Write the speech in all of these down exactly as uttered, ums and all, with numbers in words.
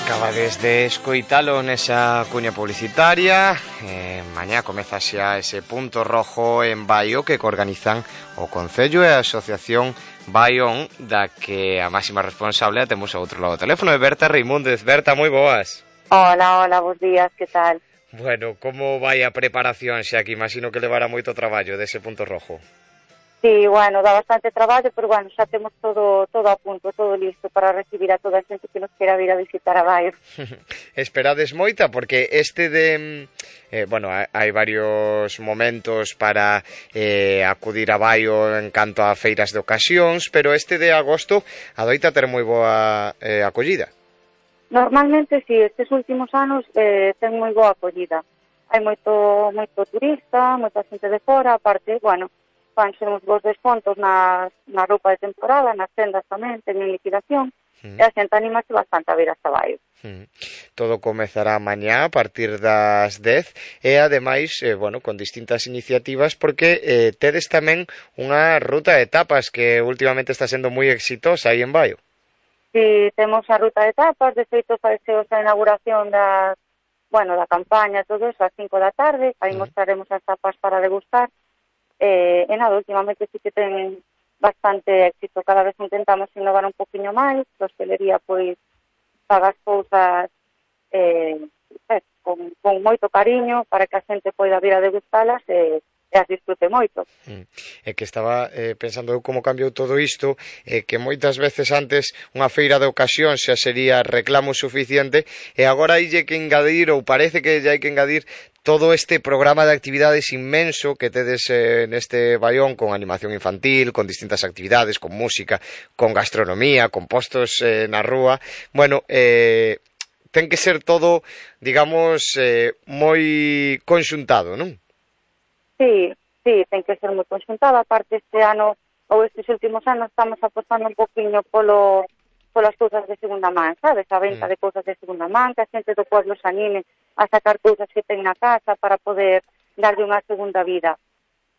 Acabades de escoitalo nesa cuña publicitaria. eh, Mañá comeza xa ese punto rojo en Baio que organizan o Concello e a Asociación Baión, da que a máxima responsable a temos ao outro lado do teléfono, é Berta Reimúndez. Berta, moi boas. Hola, hola, bons días, que tal? Bueno, como vai a preparación xa que imagino que levará moito traballo dese punto rojo? Sí, bueno, dá bastante traballo, pero bueno, xa temos todo todo a punto, todo listo para recibir a toda a xente que nos quera vir a visitar a Baio. Esperades moita, porque este de... Eh, bueno, hai varios momentos para eh, acudir a Baio en canto a feiras de ocasións, pero este de agosto adoita ter moi boa eh, acollida. Normalmente, sí, estes últimos anos eh, ten moi boa acollida. Hai moito moito turista, moita xente de fora, aparte, bueno, fanse uns bons descontos nas, na roupa de temporada, nas tendas tamén, teñen liquidación, mm. e a xente animase bastante a vir hasta Baio. Mm. Todo comezará mañá a partir das dez e ademais, eh, bueno, con distintas iniciativas, porque eh, tedes tamén unha ruta de etapas que últimamente está sendo moi exitosa aí en Baio. Si, temos a ruta de etapas, de feito faise a inauguración da, bueno, da campaña, todo eso, ás cinco da tarde, aí mm. mostraremos as tapas para degustar. Eh, e nada, últimamente sí que ten bastante éxito, cada vez intentamos innovar un poquinho máis, a hostelería pois paga as cousas eh, eh, con, con moito cariño para que a xente poida vir a degustalas e, e as disfrute moito. Mm. É que estaba eh, pensando como cambiou todo isto, eh, que moitas veces antes unha feira de ocasión xa sería reclamo suficiente e agora hai que engadir, ou parece que ya hai que engadir todo este programa de actividades inmenso que tedes eh, neste Baión, con animación infantil, con distintas actividades, con música, con gastronomía, con postos eh, na rúa. Bueno, eh, ten que ser todo, digamos, eh, moi conxuntado, non? Sí, sí, ten que ser moi conxuntado. Aparte, este ano, ou estes últimos anos, estamos apostando un poquinho polo polas cousas de segunda man, sabes? A venta mm. de cousas de segunda man, que a xente do pueblo se anime a sacar cousas que ten na casa para poder darlle unha segunda vida.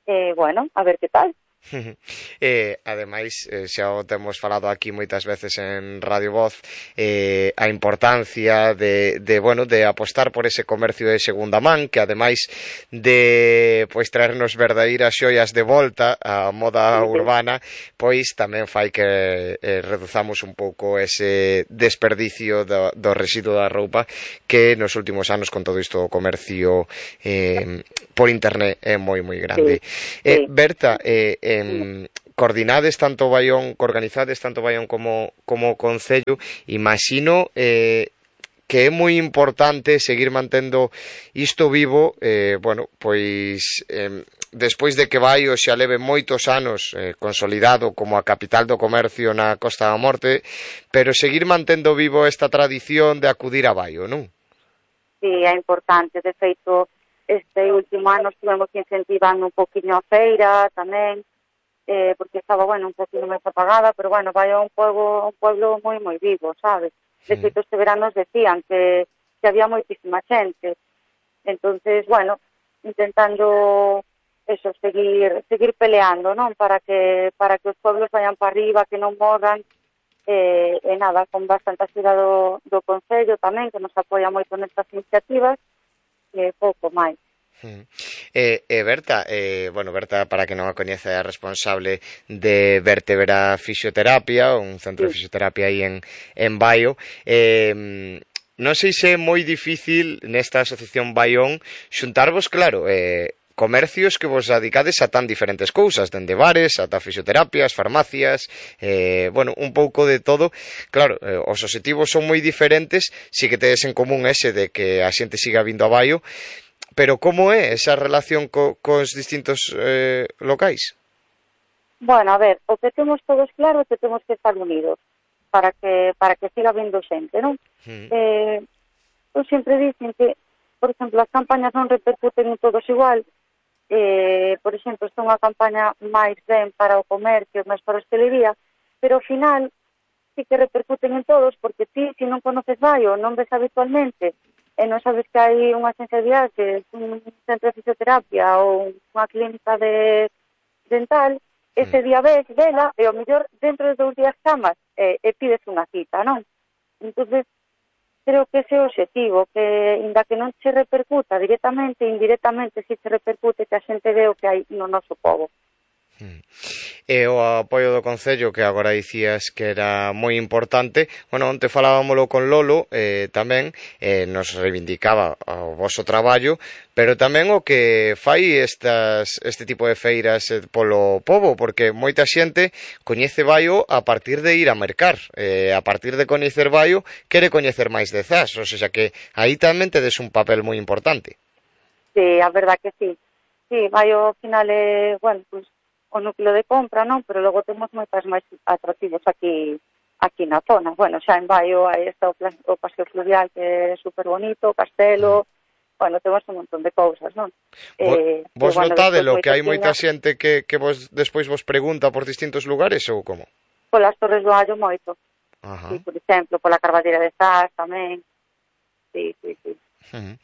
Eh, bueno, a ver que tal. eh, ademais, eh, xa o temos falado aquí moitas veces en Radio Voz, eh, a importancia de, de, bueno, de apostar por ese comercio de segunda man, que ademais de pois traernos verdadeiras xoias de volta á moda urbana, pois tamén fai que eh, reduzamos un pouco ese desperdicio do, do residuo da roupa que nos últimos anos con todo isto do comercio eh, por internet é moi moi grande. Sí, eh, sí. Berta, eh, eh, coordinades tanto Baión, organizades tanto Baión como como Concello, imagino eh, que é moi importante seguir mantendo isto vivo, eh, bueno, pois eh, despois de que Baio xa leve moitos anos eh, consolidado como a capital do comercio na Costa da Morte, pero seguir mantendo vivo esta tradición de acudir a Baio, non? Sí, é importante, de feito, este último ano estivemos incentivando un poquinho a feira tamén, eh, porque estaba, bueno, un poquinho máis apagada, pero, bueno, vai a un pueblo, un pueblo moi, moi vivo, sabes? De feito, este verano nos decían que, que había moitísima xente. Entonces, bueno, intentando eso, seguir seguir peleando, non? Para que para que os pueblos vayan para arriba, que non morran, eh, e nada, con bastante axuda do, do Concello tamén, que nos apoia moito nestas iniciativas, e pouco máis. Eh, eh, Berta, eh, bueno, Berta, para que non a coñece, é responsable de Vertebra Fisioterapia, un centro de fisioterapia aí en, en Baio. Eh, non sei se é moi difícil nesta asociación Baión xuntarvos, claro, eh, comercios que vos dedicades a tan diferentes cousas, dende bares, ata fisioterapias, farmacias, eh, bueno, un pouco de todo. Claro, eh, os obxectivos son moi diferentes, si que tedes en común ese de que a xente siga vindo a Baio, pero como é esa relación co, cos distintos eh, locais? Bueno, a ver, o que temos todos claro é que temos que estar unidos para que para que siga vindo xente, non? Mm. Eh, eu sempre dicen que, por exemplo, as campañas non repercuten en todos igual. Eh, por exemplo, esta é unha campaña máis ben para o comercio, máis para a hostelería, pero ao final sí que repercuten en todos, porque ti, se non conoces Baio, non ves habitualmente, e non sabes que hai unha agencia de viaxes, un centro de fisioterapia ou unha clínica de dental, ese día ves, vela, e ao mellor dentro de dous días chamas e, e pides unha cita, non? Entonces, creo que ese é o objetivo, que inda que non se repercuta directamente, indirectamente si se repercute, que a xente ve o que hai no noso pobo. E o apoio do Concello, que agora dicías que era moi importante, bueno, onte falábamolo con Lolo, eh, tamén eh, nos reivindicaba o voso traballo, pero tamén o que fai estas, este tipo de feiras eh, polo pobo, porque moita xente coñece Baio a partir de ir a mercar, eh, a partir de coñecer Baio, quere coñecer máis de Zas, ou seja que aí tamén tedes un papel moi importante. Sí, a verdad que sí. Sí, Baio ao final é, bueno, pues, o núcleo de compra, non? Pero logo temos moitas máis atractivos aquí aquí na zona. Bueno, xa en Baio aí está o, plan, o paseo fluvial, que é super bonito, o castelo, bueno, temos un montón de cousas, non? Vo, eh, vos bueno, notádelo, que hai moita moita xente que, que vos despois vos pregunta por distintos lugares ou como? Polas Torres do Allo moito. Ajá. Sí, por exemplo, pola Carballeira de Zas tamén. Sí, sí, sí. Uh-huh.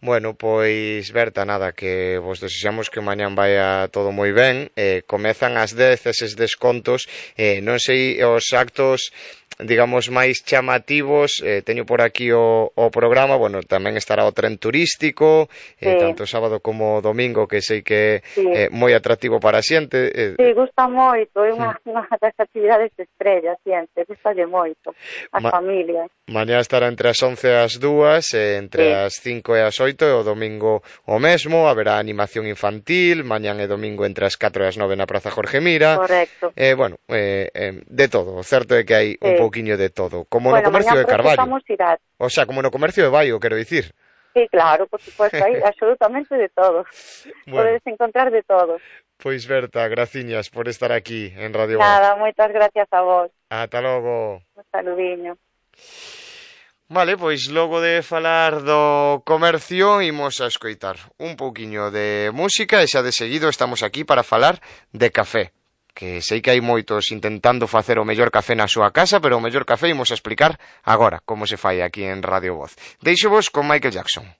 Bueno, pois, Berta, nada, que vos desexamos que mañán vaya todo moi ben. Eh, comezan ás dez eses descontos. Eh, non sei, os actos, digamos, máis chamativos, eh, teño por aquí o, o programa, bueno, tamén estará o tren turístico, eh, sí. tanto sábado como domingo, que sei que é sí. eh, moi atractivo para a xente. Eh, sí, gusta moito, é unha, unha das actividades estrellas, xente, gustalle moito, as Ma familias. Mañá estará entre as once e as dúas, eh, entre sí. as cinco e as oito, e o domingo o mesmo, haberá animación infantil, mañán e domingo entre as catro e as nove na Praza Jorge Mira. Correcto. Eh, bueno, eh, eh, de todo, o certo é que hai sí. un pouquiño de todo, como bueno, no comercio de Carballo. O sea, como no comercio de Baio, quero dicir. Sí, claro, por supuesto, hai absolutamente de todo. Bueno. Podes encontrar de todo. Pois, Berta, graciñas por estar aquí en Radio Voz. Nada, moitas gracias a vos. Ata logo. Un saludiño. Vale, pois logo de falar do comercio imos a escoitar un pouquiño de música e xa de seguido estamos aquí para falar de café, que sei que hai moitos intentando facer o mellor café na súa casa, pero o mellor café imos a explicar agora como se fai aquí en Radio Voz. Deixo vos con Michael Jackson.